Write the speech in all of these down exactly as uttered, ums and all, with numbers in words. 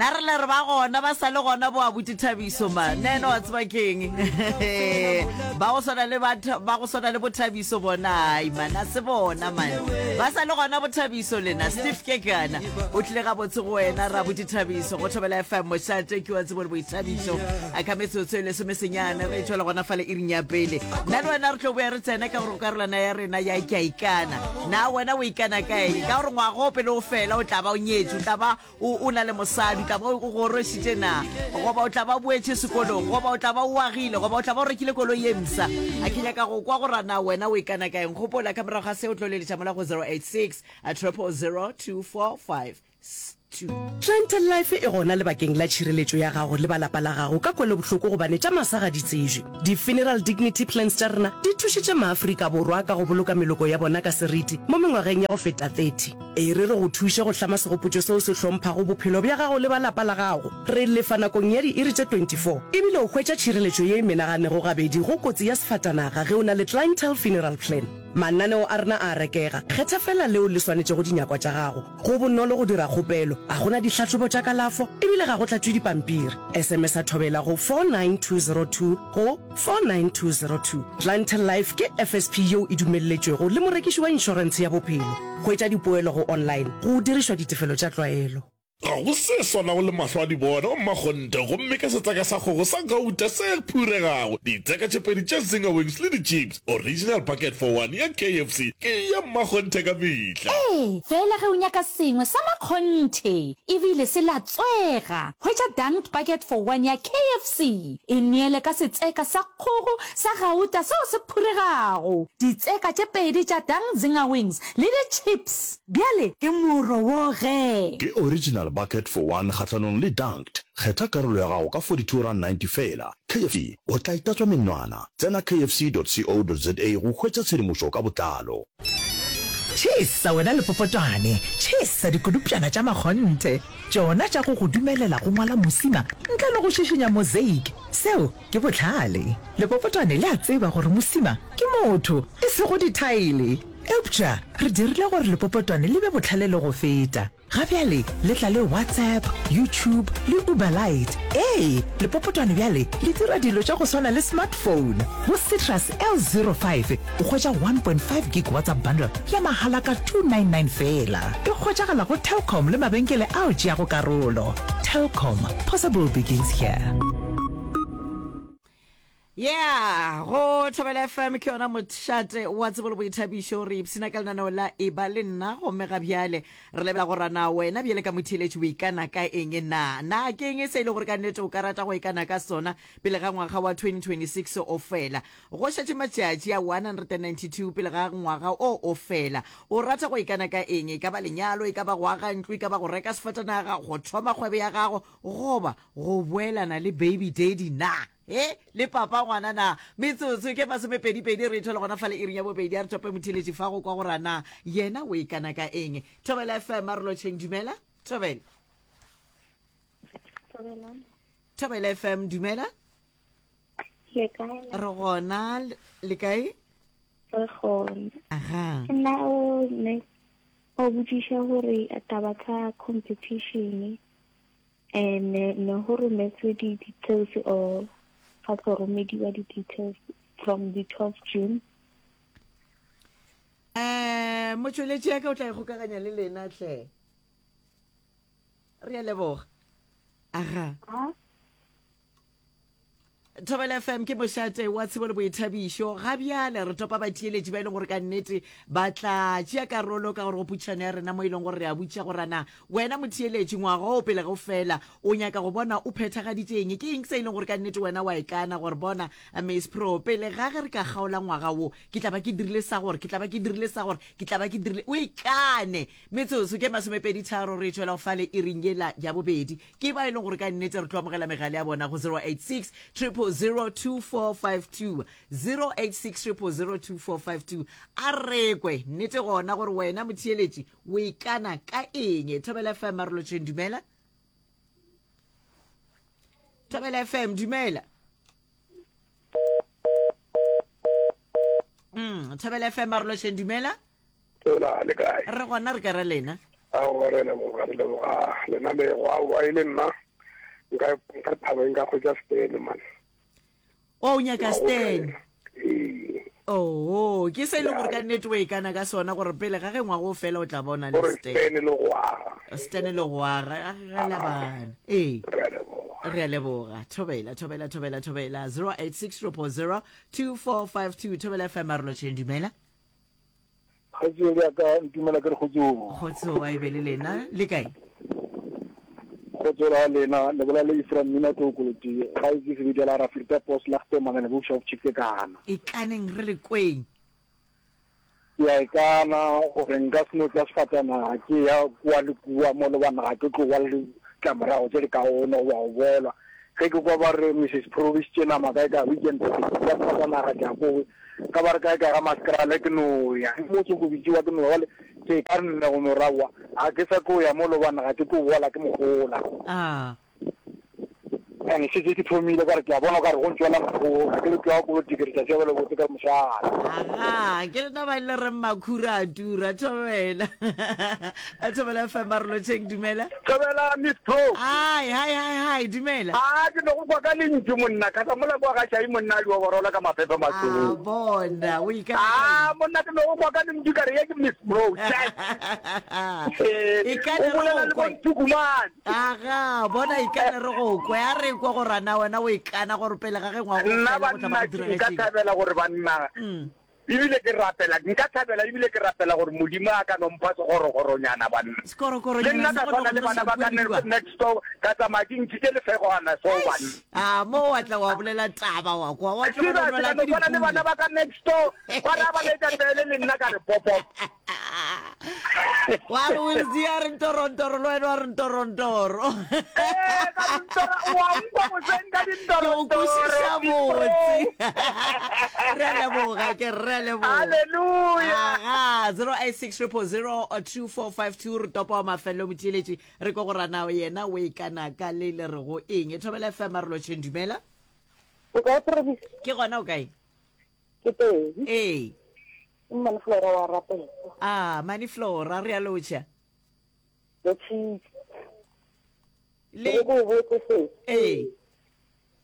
Nna re le re ba gona ba sa le gona bo abuti Thabiso ma. Nna ena wa tseba keng? Ba go swana le ba ba go swana le bo Thabiso bona ai man a se bona man. Ba sa le gona bo Thabiso lena Steve Kekana. O tlile ga botse go wena ra abuti Thabiso go Thobela F M mošate ke wa tsebo le boithabišo. A ka metsotso e lesome senyane re tšwela gona fale iring ya pele. Nna le wena re tlo boya re tsena ka gore karolwana ya rena ya ke a ikana. Na wena o ikana ka eng? Ka gore ngwaga o pele o fela o tla ba o nyetše, o tla ba o o na le mosadi, o tla ba o gorošitše na, goba o tla ba o boetše sekolong, goba o tla ba o agile, goba o tla ba o rekile koloi ye mpsha. A ke nyaka go kwa gore na wena o ikana ka eng. Gopola ka morago ga se o tlo leletša mola go zero eight six triple zero two four five two. Clientele Life e gona lebakeng la tšhireletšo ya gago le ba lapa la gago ka kwelobohloko gobane tša masa ga di tsejwe. Di-funeral dignity plans tša rena di thušitše maAfrika Borwa ka go boloka meloko ya bona ka seriti mo mengwageng ya go feta thirty. E re re go thuše go hlama segopotšo seo se hlomphago bophelo bja gago le ba lapa la gago. Re lefa nakong ya diiri tše twenty four ebile o hwetša tšhireletšo ye e menaganego gabedi go kotsi ya sefatanaga ge o na le Clientele Funeral Plan. Mananeo a rena a a rekega, kgetha feela leo le swanetšego dinyakwa tša gago. Go bonolo go dira kgopelo, ga go na dihlahlobo tša kalafo ebile ga go tlatšwe dipampiri. S M S a Thobela go four nine two zero two go four nine two zero two. Clientele Life ke F S P yeo e dumelletšwego le morekiši wa inšorentshe ya bophelo. Hwetša dipoelo go online go dirišwa ditefelo tša tlwaelo. Ga go se swanago le mahlo a di bona o mmakgonthe, gomme ka setseka sa kgogo sa gauta se phuregago, ditseka tše pedi tša Zinger Wings le di-chips, original bucket for one ya K F C ke ya mmakgonthe ka mehla. Ee, fela ge o nyaka sengwe sa makgonthe ebile se latswega, hwetša Dunked Bucket for One ya K F C. E neele ka setseka sa kgogo sa gauta seo se phuregago, ditseka tše pedi tša Dunked Zinger Wings le di-chips. Bjale ke moro wo ge. Ke original bucket for one kgahlanong le Dunked. Kgetha karolo ya gago ka forty-two rand ninety fela. K F C, o tla itatswa menwana. Tsena K F C dot co dot za go hwetša tshedimošo ka botlalo. Tšhesa wena lepopotwane, tšhesa dikodupšana tša makgonthe, tšona tša go go dumelela go ngwala mosima ntle le go šišinya mosaic. Seo ke bohlale. Lepopotwane le a tseba gore mosima ke motho, e sego dithaele. Eupša re dirile gore lepopotwane le be bohlale le go feta. Ga bjale le tla le WhatsApp, YouTube le Uber Lite. Ee, lepopotwane bjale le dira dilo tša go swana le smartphone. Go Citrus L zero five o hwetša one point five gig WhatsApp bundle ya mahala ka two nine nine fela. E hwetšagala go Telkom le mabenkele ao tšeago karolo. Telkom, possible begins here. Yeah, go Thobela F M ke yona mošate wa tsebo le boithabišo. Re ipshina ka lenaneo la E ba le nna, gomme ga bjale re lebela go rana wena bjale ka motheeletši o ikana ka eng na. Na ke eng se e le gore ka nnete o ka rata go ikana ka sona pele ga ngwaga wa twenty twenty-six o fela? Go šetše matšatši a one hundred ninety-two pele ga ngwaga o o fela. O rata go ikana ka eng? E ka ba lenyalo, e ka ba go aga ntlo, e ka ba go reka sefatanaga, go thoma kgwebo ya gago, goba go boelana le baby daddy na? E le papa ngwana na? Metsotso ke masomepedipedi re thole gona fale iring ya bobedi. A re tope motheeletši fa go kwa gore na yena o ikana ka eng. Thobela F M, a re lotšheng. Dumela Thobela. Thobela F M, dumela. Le kae? Re gona, le kae? Re gona. Aga. Nna o ne o botšiša gore taba tsa competition and ne go rometswe di-details or ga tlo romediwa di-details from the twelve June? um motšweletši ya ka o tla ikgokaganya le lena tle. Re a leboga. Aga. Thobela F M ke mošate wa tsebo le boithabišo. Ga bjale re topa batheeletši ba e leng gore ka nnete ba tla tšea karolo ka gore go putšhano ya rena mo e leng gore re a botša gore na wena motheeletši ngwaga o pele go fela o nyaka go bona o phethagaditše eng. Ke eng se e leng gore ka nnete wena wa ikana gore bona Miss Pro, pele ga ge re ka kgaola ngwaga wo ke tla ba ke dirile sa gore, ke tla ba ke dirile sa gore, ke tla ba ke dirile? O ikane. Metsotso ke masomepedi tharo re tšwela go fale iring yela ya bobedi. Ke ba e leng gore ka nnete re tlo amogela megale ya bona go zero eight six triple zero two four five two, zero eight six triple zero two four five two. A rekwe nnete gona gore wena motheeletši o ikana ka eng. Thobela F M, marolotšheng. Dumela Thobela F M, dumela. mm Thobela F M, marolotšheng, dumela. Hola, le kae? Re gona, re ka ra lena? Aowa re a leboga, re leboga lenanego. Aowa e le nna nka nka thaba nka hwetša Stan man. O nyaka Stan? Ee. Oo, ke se e leng gore ka nnete o ikana ka sona gore pele ga ge ngwaga o fela o tla bona le Gore Stan. Stan le go aga. Stan le go aga, a ge la bana. Ee. Re a leboga. Re a leboga. Thobela, thobela, thobela, thobela. Zero eight six triple zero two four five two. Thobela F M Arolotšheng, dumela. Kgaetšedi ya ka, ntumela ke re kgotsong. Kgotso a e be le lena. Le kae? Kgotso la lena, le bolela le Ephraim Mmina Tlou Koloti, gae ke sebedi la Rafirta Pos la Gte Manane Bookshop Chikekana. Ikaneng re le kweng. Ke a ikana gore nka se no tla sefatanaga ke ya kua le kua mo le bana ga ke tlo ba le ditlamorago tše di kaone goba go bolwa. Ge ke kwa ba re Missus Provisitše nama kae kae weekend ke tla sefatanaga ke ya ko ka ba re kae kae ga Maskrale ke no ya. Mo ke go bitšiwa ke no ya bjale ke ka nne go no ra aowa ga ke sa tlo ya mo le bana ga ke tlo bola ke mogola. Ah. And šetše ke thomile ka re ke a bona o ka re go ntšwela makhura ke le tloga politiki re tša tšea bjale botse ka re mošate. Aga, ke lena ba le reng makhura a tura, thobela. Thobela F M a re lotšheng, dumela. Thobela Miss Pro. Hi, hi, hi, hi, dumela. A ke no go kwa ka lentšu monna, ka sa mola kwa ga Shai monna a di oborola ka maphephe mašweu. A bona, o ikana A monna ke no go kwa ka lentšu ka re ye ke Miss Pro. Ikane O bolela re le go kwe. boNtukumane. Aga, bona ikane re go kwe, a re kwe gore na wena o ikana gore pele ga ge ngwaga o Nna fela go tla ba banna go ke nka diragetšeng. thabela gore banna, ebile ke rapela, nka thabela ebile ke rapela gore Modimo a ka no mpha segorogoronyana banna. Le Sekorokoro-nyana nna sa ka go swana no le go bana tloša ba ka kua le kua. next door, ka tsamaya ke ntšhitše lefegwana so banna. A mo wa tla wa bolela taba wa kwa, wa tlo Tseba, go ke nwela ka no ke swana le bana dipula. ba ka next door, ba ra ba letša pele le nna ka re popop. Wa re Wilsie a re ntorontoro le wena wa re ntorontoro. Ee, ka dintoro, wa nkwa boseng ka Ke go dintorontoro, kwešiša Miss Pro. botse. Re a leboga, ke re a leboga. Hallelujah. Aga, zero eight six triple zero two four five two re topa wa mafelelo motheeletši re kwe gore na yena o ikana ka le le re go eng. Thobela F M a re lotšheng, dumela. O kae, Provis? Ke gona, o kae? Ke teng. Ee. Ke Mane Flora wa rapela. Ah, Mane Flora, re a lotšha. Lotšhitše. Le Ke go botse se. Ee.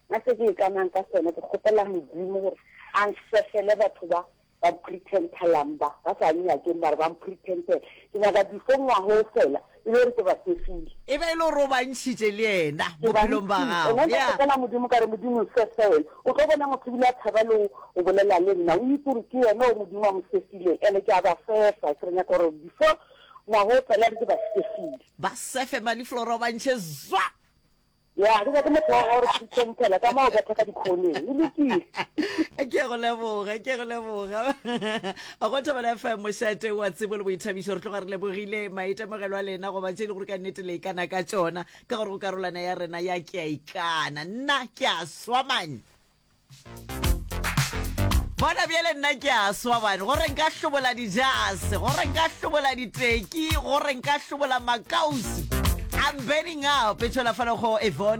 Nna se ke ikanang ka sone ke kgopela Modimo gore a nsefele batho ba ba pretendelang ba ba sa nyakeng ba re ba mpretendela. Ke nyaka before ngwaga o fela e be gore ke ba sefile. E be e le gore o ba ntšhitše le yena Ke ba bophelong ba ntšhitše. gago. Nna nka Yeah. kgopela Modimo ka re Modimo nsefele. O tlo bona motho ebile a tshaba le go o bolela le nna. O itse gore ke yena o Modimo a mo sefileng. Ene ke a ba sefa. Ke re nyaka gore before ngwaga o fela ke ba sefile. Ba sefe Mane Flora o ba ntšhe zwa. Ya, ke nyake motho wa gore pretendela ka moo o betha ka dikhoneng. E lokile. Ke a go leboga, ke a go leboga. Go Thobela F M mošate wa tsebo le boithabišo re tloga re lebogile maitemogelo a lena goba tše e le gore ka nnete le ikana ka tšona ka gore go karolwana ya rena ya ke a ikana. Nna ke a swa man. Bona bjale nna ke a swa man, gore nka hlobola dijase, gore nka hlobola diteki, gore nka hlobola makausi. I'm burning up. E tšwela fale go Evone.